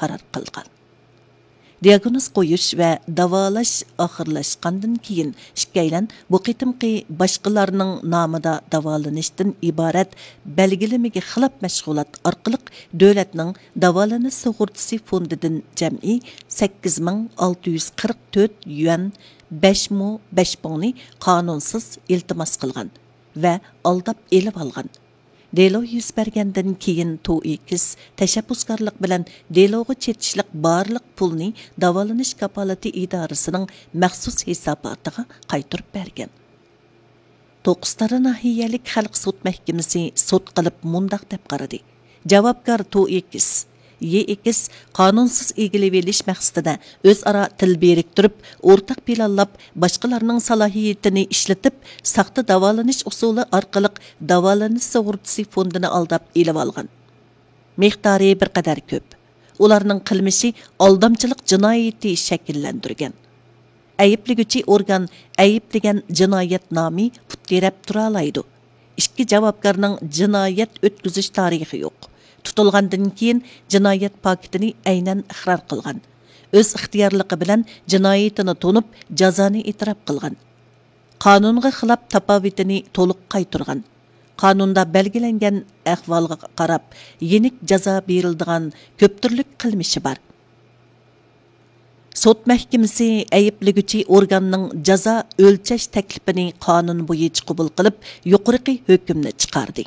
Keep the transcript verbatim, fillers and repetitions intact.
قارار قىلغان. دىياگنوز قويۇش ۋە داۋالاش ئاخىرلاشقاندىن كېيىن، ئىككىيلەن بۇ قېتىمقى باشقىلارنىڭ نامىدا داۋالىنىشتىن ئىبارەت بەلگىلىمىگە خىلاپ مەشغۇلات ئارقىلىق دۆلەتنىڭ داۋالىنىش سۇغۇرتىسى فوندىدىن جەمئىي سەككىز مىڭ ئالتە يۈز قىرىق تۆت يۈەن، بەش مو بەش پۇڭنى قانۇنسىز ئىلتىماس قىلغان ۋە ئالداپ ئېلىۋالغان. دېلو يۈز بەرگەندىن كېيىن، تو ئېكس تەشەببۇسكارلىق بىلەن دېلوغا چېتىشلىق بارلىق پۇلنى داۋالىنىش كاپالىتى ئىدارىسىنىڭ مەخسۇس ھېساباتىغا قايتۇرۇپ بەرگەن. توققۇزتارا ناھىيەلىك خەلق سوت مەھكىمىسى سوت قىلىپ مۇنداق دەپ قارىدى: جاۋابكار تو ئېكس، يې ئېكس قانۇنسىز ئىگىلىۋېلىش مەقسىتىدە ئۆزئارا تىل بىرىكتۈرۈپ، ئورتاق پىلانلاپ، باشقىلارنىڭ سالاھىيىتىنى ئىشلىتىپ، ساختا داۋالىنىش ئۇسۇلى ئارقىلىق داۋالىنىش سۇغۇرتىسى فوندىنى ئالداپ ئېلىۋالغان. مىقدارى بىر قەدەر كۆپ. ئۇلارنىڭ قىلمىشى ئالدامچىلىق جىنايىتى شەكىللەندۈرگەن. ئەيىبلىگۈچى ئورگان ئەيىبلىگەن جىنايەت نامى پۇت تىرەپ تۇرالايدۇ. ئىككى جاۋابكارنىڭ جىنايەت ئۆتكۈزۈش تارىخى يوق. تۇتۇلغاندىن كېيىن جىنايەت پاكىتىنى ئەينەن ئىقرار قىلغان. ئۆز ئىختىيارلىقى بىلەن جىنايىتىنى تونۇپ، جازانى ئېتىراپ قىلغان. قانۇنغا خىلاپ تاپاۋىتىنى تولۇق قايتۇرغان. قانۇندا بەلگىلەنگەن ئەھۋالغا قاراپ، يېنىك جازا بېرىلىدىغان كۆپ تۈرلۈك قىلمىشى بار. سوت مەھكىمىسى ئەيىبلىگۈچى ئورگاننىڭ جازا ئۆلچەش تەكلىپىنى قانۇن بويىچە قوبۇل قىلىپ، يۇقىرىقى ھۆكۈمنى چىقاردى.